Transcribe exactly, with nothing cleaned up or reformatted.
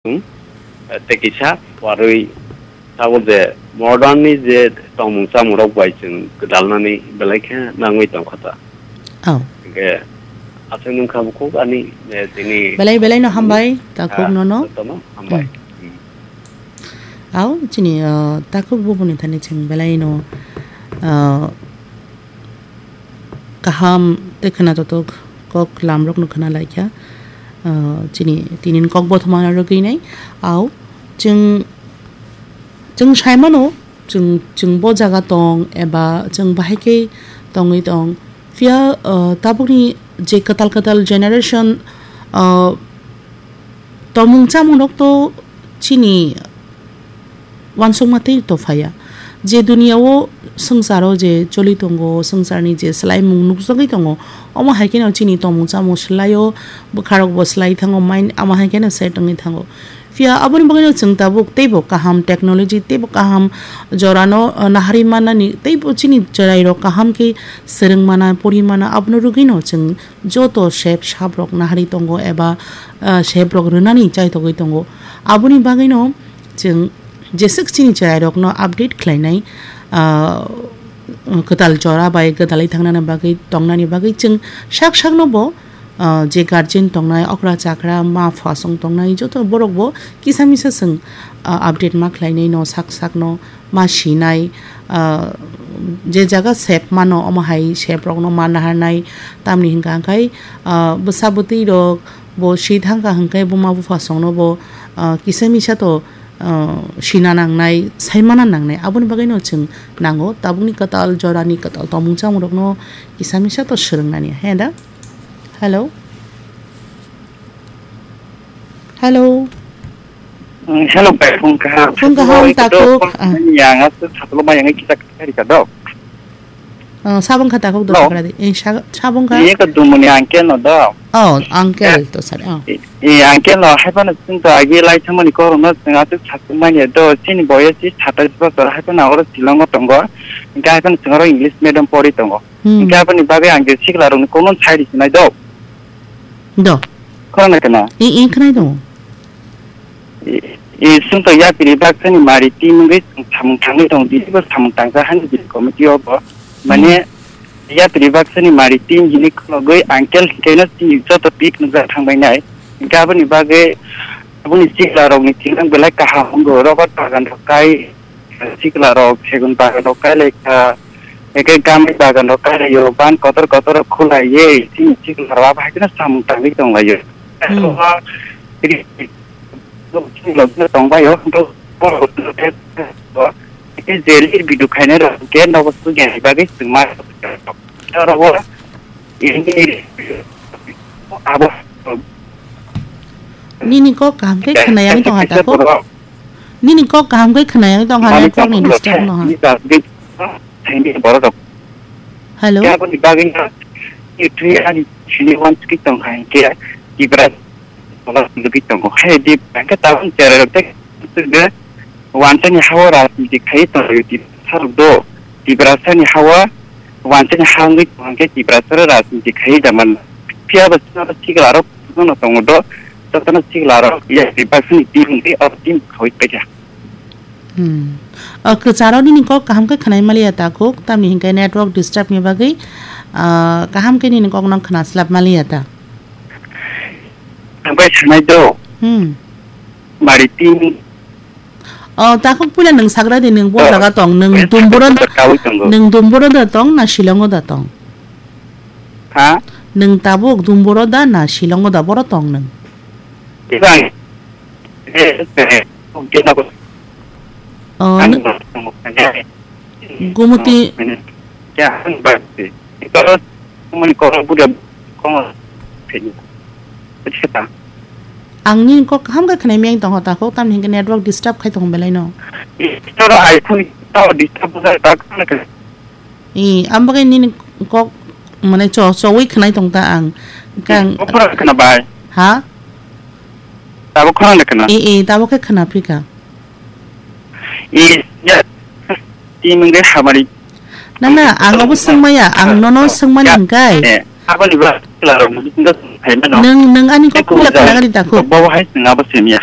Tei kisa warwi tabuk je modern ni je tongmung chamung rok bai chwng gwdalnani belai khe nangwi tongkha ta. Oh. Hingke aswk nung kha bukhuk ani, eh, tini belai belai no hambai, ah, takhuk no no. Jotono hambai. Hmm. Hmm. Au, chini, ah, takhuk bubuni thani chwng belai no, ah, kaham tei khwnajotok kok lamrokno khwna laikha. Ah, chini tinin kok bothomano rwgwi nai. Au, chwng, chwng sai mano, chwng, chwng bo jaga tong eba chwng bahai khe tongwi tong. Phiya, ah, tabukni je kwtal kwtal generation, ah, tongmung chamungrok to chini uansukma tei to phaiya. Je duniya o swngcharo je choli tongo, swngcharni je swlaimung nukjagwi tongo, omo hai kheno chini tongmung chamung swlaio, bwkharokbo swlai thango, main-, omo hai kheno set wngwi thango. Phiya aboni bagwino chwng tabuk teibo kaham technology, teibo kaham jorano, uh, naharwi mannani, teibo chini chwrairok kaham khe swrwng mana, pori mana, abono rwgwino chwng joto sep saprok naharwi tongo eba, ah, seprok rwnani chaithogwi tongo. Aboni bagwino chwng jeswk chini chwrairokno update khlainai, ah, kwtal jora bai gwdalwi thangnani bagwi, tongnani bagwi chwng sak sakno bo, ah, je guardian tongnai, okra chakra, ma phasong tongnai, joto borok bo kisa misa chwng, ah, update ma khlainai no sak sakno. Ma sinai, ah, je jaga sep mano, omo hai sep rokno ma naharnai, tamni hwnka hwnkhe, ah, bwsa bwtwi rok bo si thangkha hwnkhe buma bupha songno bo, ah, kisa misa to, ah, sina nangnai, saimana nangnai, aboni bagwino chwng nango tabukni kwtal jorani kwtal tongmung chamung rokno kisa misa to swrwngnani, he da? Hello? Hello. Mm, hello, bai, phung kaham. Phung kaham, Satlo, takhuk. Ah. Yang aswk satlo ma yang kita kari ka dok. Oh, sabong kha takhuk dok. Hello. Kara di. Eh, sa-, sabong kha. Ini ka dumuni uncle no dok. Oh, uncle to sar. Oh. I, i uncle no hai pano sing to agi lai thamani korong no sing aswk satlo ma ya do. Sini boyes si satais bosor hai pano oro Shillong o tongo. Hingke hai pano sing oro English medium pori tongo. Hmm. Hingke aboni bagwi ang je sikla rokni comment sai di sinai dok. Do. Khorang na kana? I, i, khwnai do. I, i, sung to yapiri baksani mari team wngwi samung tangwi tong di, bo samung tangsa hani bini committee o bo. Mane, hmm, yapiri baksani mari team hini khulogwi uncle hingke no chini joto pik nukjak thangbai nai. Hingke aboni bagwi, aboni sikla rokni thing ang belai kaham wngwi rubber bagan rok kai, sikla rok, segun bagan rok kai lai kha, eke gamri bagan rok kai lai yo, ban kotor kotor rok khulai ye, chini sikla rok abo hai kheno samung tangwi tong lai yo. Hmm. Chini logino tong bai yo, eke jeli bidu khainai rok, ke nogo sugya ni bagwi chwng ma rok. Oro o, ini, abo. Nini kok kaham khe khwnayani tong ha ta kho? Nini kok kaham khe khwnayani tong ha, network ni disturb no ha. Hello? Aboni bagwi no, ani sini wan siki tong ha, hingke Tipra tola lugui tongo. Hai di hingke tabuk cherai rok tei sugde wansani hao rajniti khai tong Tiprasa rok do. Tiprasani hao wansani ha wngwi tong hingke Tiprasa rok rajniti khai jaman. Phiya bo sikla rok no tongo do. Jotono sikla rok ya Tiprasani team wngwi oro team khaui paikha. Hmm. O kwcharo nini kok kaham khe khwnai maliya ta kuk, tamni hinkhe network disturb ni bagwi, ah, kaham khe nini kok no khwna slap maliya ta. Ang bai sanai do. Hmm. Mari tin. O, takhuk puila nwng sagra di, nwng bo jaga tong, nwng Dumbura da, nwng Dumbura da tong, na Shillong o da tong? Ha? Nwng tabuk Dumbura da, na Shillong o da, boro tong nwng? Ibang. Eh, eh, eh, O, Gumuti. Ang nini kok kaham khe khwnai miyang tong ho takhuk, tamni hinkhe network disturb khai tong belai no. Disturb hai phone disturb khai ta. E, ang bagwi nini kok mane cho-, chowi khwnai tong ta ang. Kang. Khorang khwna bai. Ha? Tabuk khorang khwna. E, e, tabuk khe khwna phika. E, ya. Ti mungge hamari. Na, na, ang obo swngmaya, ang nono swngmani hingkai. E, aboni ba klarok mungge phaimano. Nwng, nwng ani kok kula khwna gari dakhuk. Bo hai swng abo swngya.